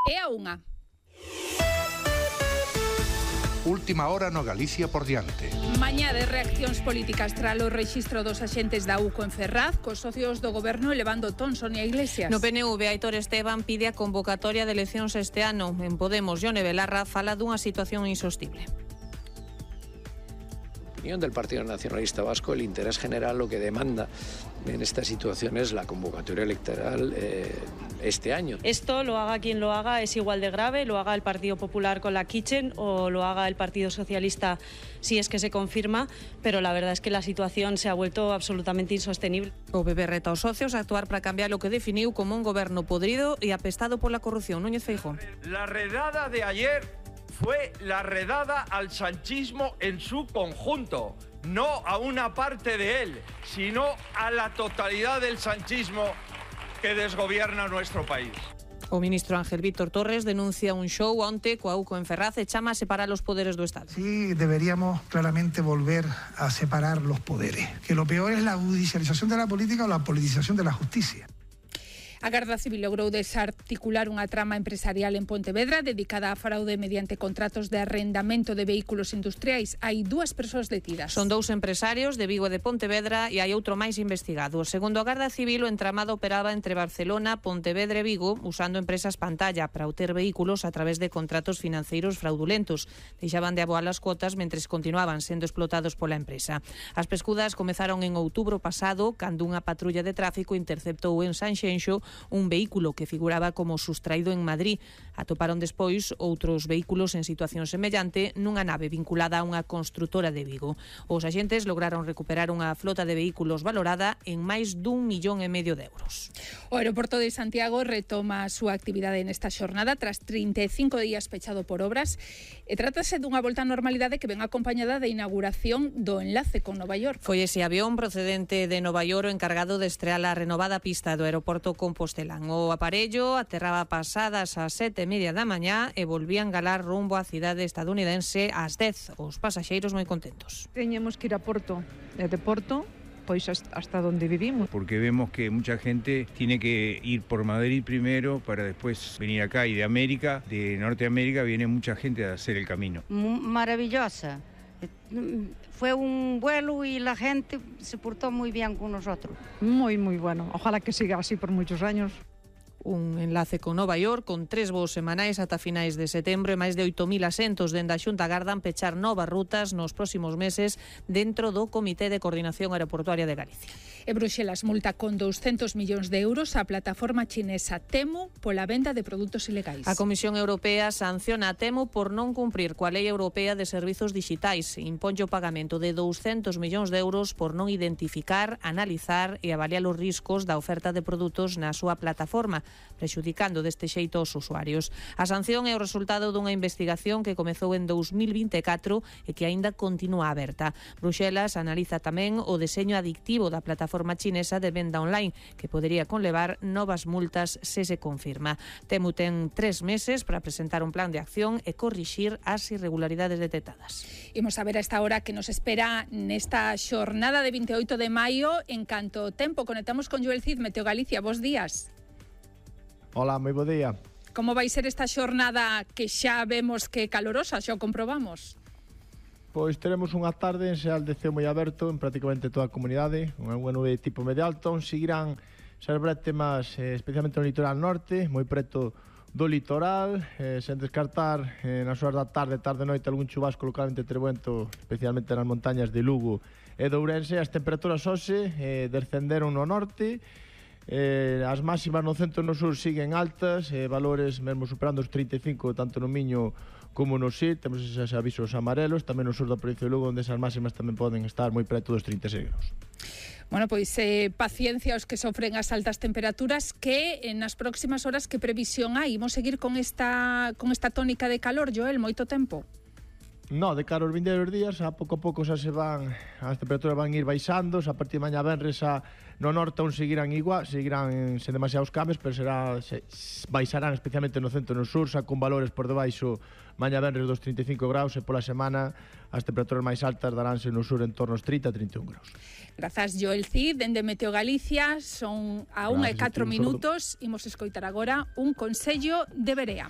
É a 1. Última hora no Galicia por diante. Mañá de reaccións políticas tras o rexistro dos axentes da UCO en Ferraz, cos socios do goberno elevando ton. Sonia Iglesias. No PNV, Aitor Esteban pide a convocatoria de eleccións este ano. En Podemos, Jone Belarra fala dunha situación insostible. Opinión del Partido Nacionalista Vasco, el interés general lo que demanda en esta situación es la convocatoria electoral este año. Esto lo haga quien lo haga es igual de grave, lo haga el Partido Popular con la Kitchen o lo haga el Partido Socialista si es que se confirma, pero la verdad es que la situación se ha vuelto absolutamente insostenible. O PP reta aos socios a actuar para cambiar lo que definiu como un goberno podrido e apestado pola corrupción. Núñez Feijóo. La redada de ayer fue la redada al sanchismo en su conjunto, no a una parte de él, sino a la totalidad del sanchismo que desgobierna nuestro país. O ministro Ángel Víctor Torres denuncia un show onte coa UCO en Ferraz e chama a separar os poderes do Estado. Sí, deberíamos claramente volver a separar los poderes, que lo peor es la judicialización de la política o la politización de la justicia. A Garda Civil logrou desarticular unha trama empresarial en Pontevedra dedicada a fraude mediante contratos de arrendamento de vehículos industriais. Hai 2 persoas detidas. Son 2 empresarios de Vigo e de Pontevedra e hai outro máis investigado. Segundo a Garda Civil, o entramado operaba entre Barcelona, Pontevedra e Vigo usando empresas pantalla para obter vehículos a través de contratos financeiros fraudulentos. Deixaban de aboar as cuotas mentres continuaban sendo explotados pola empresa. As pescudas comezaron en outubro pasado cando unha patrulla de tráfico interceptou en Sanxenxo un vehículo que figuraba como sustraído en Madrid. Atoparon despois outros vehículos en situación semellante nunha nave vinculada a unha construtora de Vigo. Os axentes lograron recuperar unha flota de vehículos valorada en máis d'1,5 millón de euros. O aeroporto de Santiago retoma a súa actividade nesta xornada tras 35 días pechado por obras e trátase dunha volta á normalidade que ven acompañada da inauguración do enlace con Nova York. Foi ese avión procedente de Nova York o encargado de estrear a renovada pista do aeroporto Compostelán. O aparello aterraba pasadas as 7:30 da mañá e volvía a engalar rumbo á cidade estadounidense ás 10. Os pasaxeiros moi contentos. Teñemos que ir a Porto, e de Porto pois hasta donde vivimos. Porque vemos que mucha gente tiene que ir por Madrid primero para después venir acá, y de América, de Norteamérica, viene mucha gente a hacer el camino. Maravillosa. Fue un vuelo y la gente se portó muy bien con nosotros. Muy, muy bueno. Ojalá que siga así por muchos años. Un enlace con Nova York con 3 voos semanais ata finais de setembro e máis de 8.000 asentos. Dende a Xunta agardan pechar novas rutas nos próximos meses dentro do Comité de Coordinación Aeroportuaria de Galicia. E Bruxelas multa con 200 millóns de euros a plataforma chinesa Temu pola venda de produtos ilegais. A Comisión Europea sanciona a Temu por non cumprir coa Lei Europea de Servizos Dixitais. Imponlle o pagamento de 200 millóns de euros por non identificar, analizar e avaliar os riscos da oferta de produtos na súa plataforma, prexudicando deste xeito aos usuarios. A sanción é o resultado dunha investigación que comezou en 2024 e que aínda continúa aberta. Bruxelas analiza tamén o deseño adictivo da plataforma chinesa de venda online, que podería conlevar novas multas se se confirma. Temu ten 3 meses para presentar un plan de acción e corrixir as irregularidades detectadas. Imos a ver a esta hora que nos espera nesta xornada de 28 de maio. En canto ao tempo, conectamos con Joel Cid, Meteo Galicia. Bos días. Hola, moi bo día. Como vai ser esta xornada que xa vemos que é calorosa, xa o comprobamos? Pois teremos unha tarde en xeral de ceo moi aberto en prácticamente toda a comunidade, unha nube de tipo medio alto, seguirán ser bretemas especialmente no litoral norte, moi preto do litoral, sen descartar nas horas da tarde, noite, algún chubasco localmente trebento, especialmente nas montañas de Lugo e de Ourense. As temperaturas hoxe descenderon no norte, as máximas no centro e no sur siguen altas, valores mesmo superando os 35 tanto no Miño como no Sil. Temos esos avisos amarelos tamén no sur da provincia de Lugo, onde esas máximas tamén poden estar moi preto dos 36 graus. Bueno, pois paciencia aos que sofren as altas temperaturas, que nas próximas horas que previsión hai? Imos seguir con esta tónica de calor, Joel, moito tempo? No, de cara aos vindeiros días, a pouco xa se van, as temperaturas van ir baixando, a partir de mañá venres no norte aún seguirán igual, seguirán sen demasiados cambios, pero baixarán especialmente no centro e no sur, xa con valores por debaixo mañá venres dos 35 graus e pola semana as temperaturas máis altas daránse no sur en torno aos 30-31 graus. Grazas, Joel Cid, dende Meteo Galicia, son a 1:04 minutos, imos escoitar agora un consello de Berea.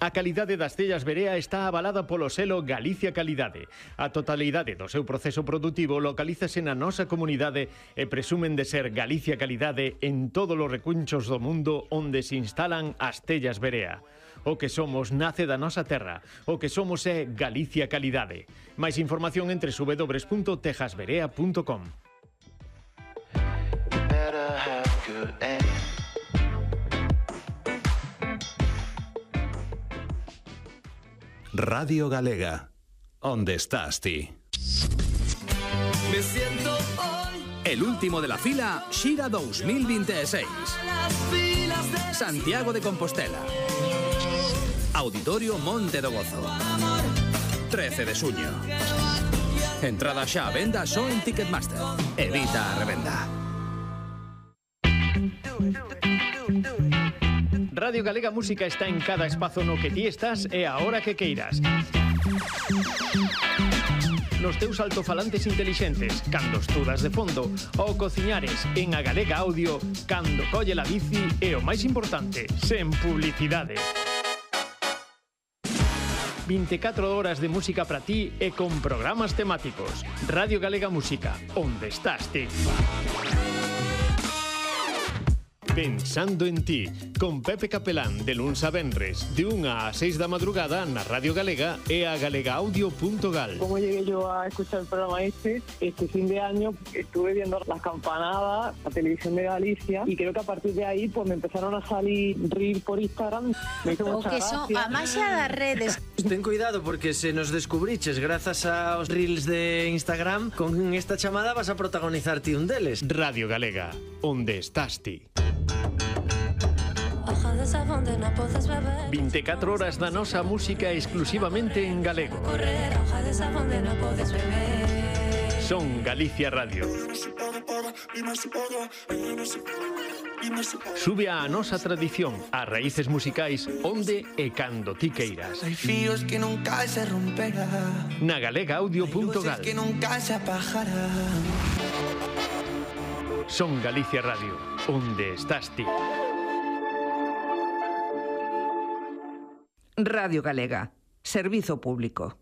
A calidade das tellas Berea está avalada polo selo Galicia Calidade. A totalidade do seu proceso produtivo localízase na nosa comunidade e presumen de ser Galicia Calidade en todos os recunchos do mundo onde se instalan as tellas Berea. O que somos nace da nosa terra. O que somos é Galicia Calidade. Máis información entre www.tejasberea.com. Radio Galega, ¿dónde estás ti? Me siento hoy. El último de la fila, Xira 2026. Santiago de Compostela. Auditorio Monte do Gozo. 13 de xuño. Entrada xa a venda só en Ticketmaster. Evita a revenda. Radio Galega Música está en cada espazo no que ti estás e a hora que queiras. Nos teus altofalantes intelixentes, cando estudas de fondo, ou cociñares en a Galega Audio, cando colle la bici e o máis importante, sen publicidade. 24 horas de música para ti e con programas temáticos. Radio Galega Música, onde estás ti? Pensando en ti, con Pepe Capelán, de luns a venres, de 1 a 6 da madrugada na Radio Galega e a galegaaudio.gal. Como llegué yo a escuchar el programa este fin de año estuve viendo las campanadas, la televisión de Galicia, y creo que a partir de ahí pues me empezaron a salir reels por Instagram. Me hizo mucha gracia. A maxia das redes. Ten cuidado porque se nos descubriches grazas aos reels de Instagram, con esta chamada vas a protagonizar ti un deles. Radio Galega, onde estás ti? 24 horas da nosa música exclusivamente en galego. Son Galicia Radio. Sube a nosa tradición, as raíces musicais, onde e cando ti queiras. Hay fíos que nunca se romperá. Na galegaaudio.gal. Que nunca se apagará. Son Galicia Radio, onde estás ti? Radio Galega, servizo público.